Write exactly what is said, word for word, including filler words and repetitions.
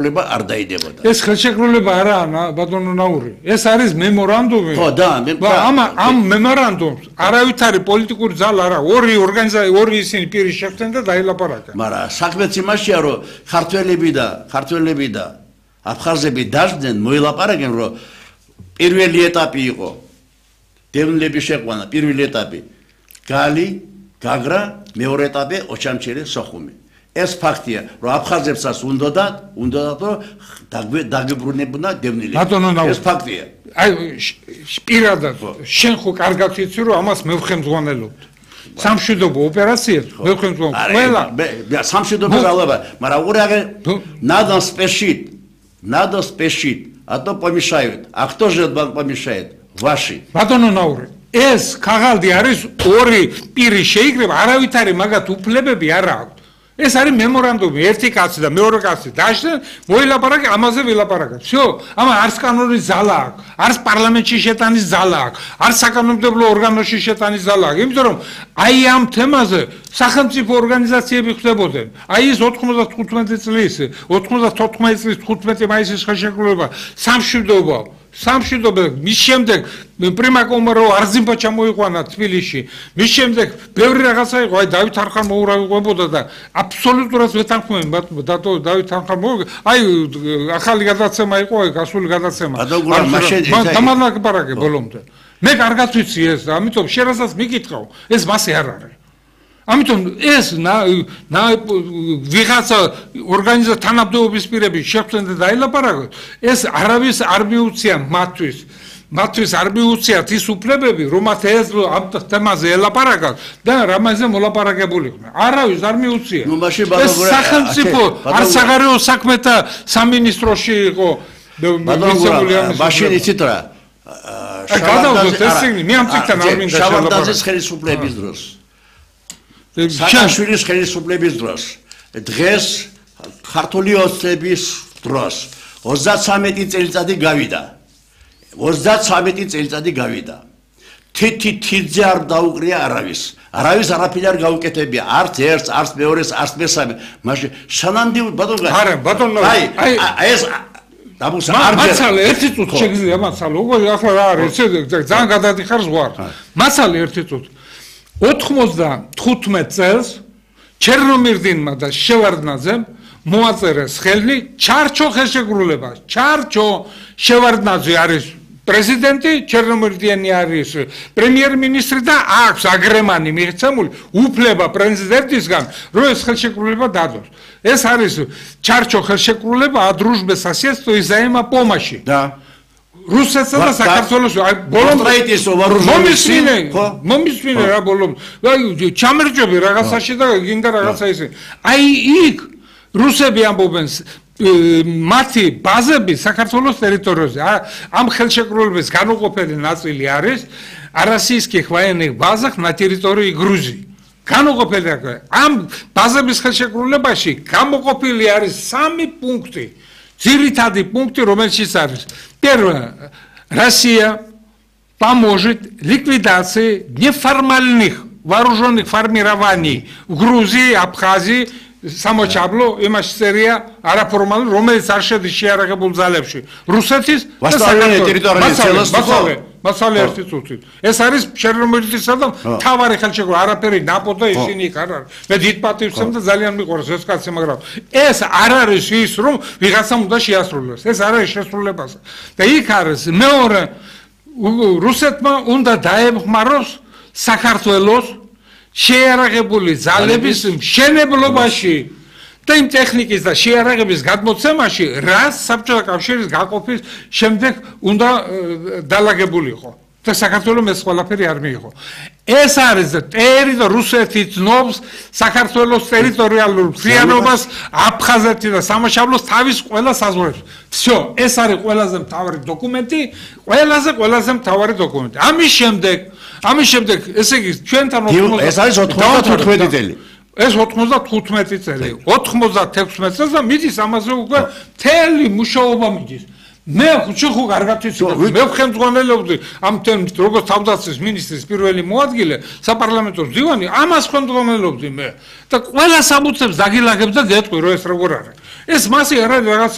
არ დაიდებოდა. ეს ხელშეკრულება არაა ბატონო ნაური. ეს არის მემორანდუმი. ხო და ამ ამ მემორანდუმს არავითარი პოლიტიკური ძალა არა, ორი ორგანიზაცია, ორი ისინი პირი შეხვდნენ და დაილაპარაკა. მაგრამ საქმეც იმაშია, რომ ქართველები და ქართველები და აფხაზები დაждდნენ, მოილაპარაკენ, რომ პირველი ეტაპი იყო დევნილების შეყვანა, პირველი ეტაპი გალი, გაგრა, მეორე ეტაპი ოჩამჩირი, სოხუმი. ეს ფაქტია, რომ აფხაზებსაც უნდათ, უნდათ რომ დაგებრუნებუნა დევნილები. ეს ფაქტია. აი პირადად შენ ხო კარგად ვიცი, რომ ამას მევხემძღვანელობთ. სამშვიდობო ოპერაციებს მევხემძღვანელობთ. ყველა სამშვიდობო ძალება, მაგრამ ура надо спешить, надо спешить, а то помешают. А кто же помешает? Ваши. ბატონო ნაური, ეს ქაღალდი არის ორი პირი შეიკრება, არავითარი მაგათ უფლებები არ აქვს. ეს არის მემორანდუმი, ერთი კაცი და მეორე კაცი დაждდნენ, მოილაპარაკე, ამაზე ვილაპარაკე. всё, ამა არც კანონი ზალა აქვს, არც პარლამენტში შეტანის ზალა აქვს, არც საკანონმდებლო ორგანოში შეტანის ზალა აქვს. იმიტომ რომ აი ამ თემაზე სახელმწიფო ორგანიზაციები ხდებოდნენ. აი ეს ოთხმოცდათხუთმეტი წლის, ოთხმოცდათოთხმეტი წლის თხუთმეტი მაისის ხელშეკრულება სამშვიდობო სამშვიდობო მის შემდეგ პრიმა კომარო არზიმბა ჩამოიყვანა თბილისში. მის შემდეგ ბევრი რაღაცა იყო, აი დავით არხამოურავებოდა და აბსოლუტურად ვეთანხმები დატო დავით არხამოურავ. აი ახალი გადაცემა იყო, აი გასული გადაცემა. დამალაკბარაკე ბოლომდე. მე კარგად ვიცი ეს, ამიტომ შენ რასაც მიკითხავ, ეს მასე არ არის. ამიტომ ეს ვიღაცა ორგანიზაცია თანამდებობის პირები შეხვდნენ და დაილაპარაკონ, ეს არავის არ მიუცია მათთვის. მათთვის არ მიუციათ ის უფლებები, რომაც ეს ამ თემაზე ელაპარაკათ და რამაზე მოლაპარაკებული იყვნენ. არავის არ მიუცია. ეს სახელმწიფო არსაღარეო საქმეთა სამინისტროში იყო მიცემული ამის. მაშინ იცით რა? შავარდაძის ხელისუფლების დროს. სააკაშვილის ხელისუფლების დროს, დღეს ქართული ოცნების დროს ოცდათსამეტი წელიწადი გავიდა. ოცდათსამეტი წელიწადი გავიდა. თითი თიძე არ დაუკრია არავის. არავის არაფერი არ გაუკეთებია, არც ერთს, არც მეორეს, არც მესამე. მაშინ სანანდი ბატონო არა, ბატონო აი ეს დაბუსა არ მასალე ერთი წუთი შეგიძლია მასალე. უკვე ახლა რა არის, ძალიან გადადიხარ ზღვარ. მასალე ერთი წუთი. ოთხმოცდათხუთმეტ წელს ჩერნომირდინმა და შევარდნაძემ მოაწერეს ხელი ჩარჩო ხელშეკრულებას. ჩარჩო შევარდნაძე არის პრეზიდენტი, ჩერნომირდიანი არის პრემიერ-მინისტრი და აქვს აგრემანი მიღწეული უფლება პრეზიდენტისგან, რომ ეს ხელშეკრულება დადოს. ეს არის ჩარჩო ხელშეკრულება о дружбе, соседстве и взаимопомощи. Да. რუსეთსა და საქართველოს ბოლომდე მომისმინე მომისმინე რა ბოლომდე აი ჩამერჯობი რაღაცაში და გინდა რაღაცა ისე აი იქ რუსები ამბობენ მათი ბაზები საქართველოს ტერიტორიაზე ამ ხელშეკრულების განუყოფელი ნაწილი არის российских военных базах на территории Грузии განუყოფელი ამ ბაზების ხელშეკრულებაში გამოყოფილი არის სამი პუნქტი ძირითადი პუნქტი რომელშიც არის Первое. Россия поможет ликвидации неформальных вооруженных формирований в Грузии, Абхазии, Самочабло, Имашсерия, Араформал, Ромеец, Аршеды, Шиарагабул Залевши. Русетис, Восточная территория целостного. Масале институт. ეს არის შერნომირდისა და თავარი ხელშეკრულება, არაფერი ნაპოდა ისინი იქ არ არის. მე დიდ პატივს და ძალიან მიყვარს ეს კაცი, მაგრამ ეს არ არის ის, რომ ვიღაცამ უნდა შეასრულოს. ეს არ არის შესრულებას. და იქ არის მეორე რუსეთმა უნდა დაემხმაროს საქართველოს შეიარაღებული ძალების მშენებლობაში და იმ ტექნიკის და შეიარაღების გადმოცემაში, რაც საბჭოთა კავშირის გაყოფის შემდეგ უნდა დალაგებულიყო. და საქართველოს ეს ყველაფერი არ მიიღო. ეს არის ტერიტორია რუსეთი ცნობს საქართველოს ტერიტორიალურ მთლიანობას, აფხაზეთი და სამაშაბლოს თავის ყველა საზღვრებს. всё, ეს არის ყველაზე მთავარი დოკუმენტი, ყველაზე ყველაზე მთავარი დოკუმენტი. ამის შემდეგ, ამის შემდეგ, ესე იგი, ჩვენთან ეს არის ოცდათხუთმეტი წელი. ეს ოთხმოცდათხუთმეტი წელი, ოცდათექვსმეტ წელს და მიდის ამაზე უკვე მთელი მუშაობა მიდის. მე ხო ხო კარგად ვიცი, მე ხელმძღვანელობდი ამ თემს, როგორც თავდაცვის მინისტრის პირველი მოადგილე, საპარლამენტო მდივანი, ამას ხელმძღვანელობდი მე. და ყველა სამუცებს დაგილაგებ და გეტყვი, რომ ეს როგორ არის. ეს მასე არ არის რაღაც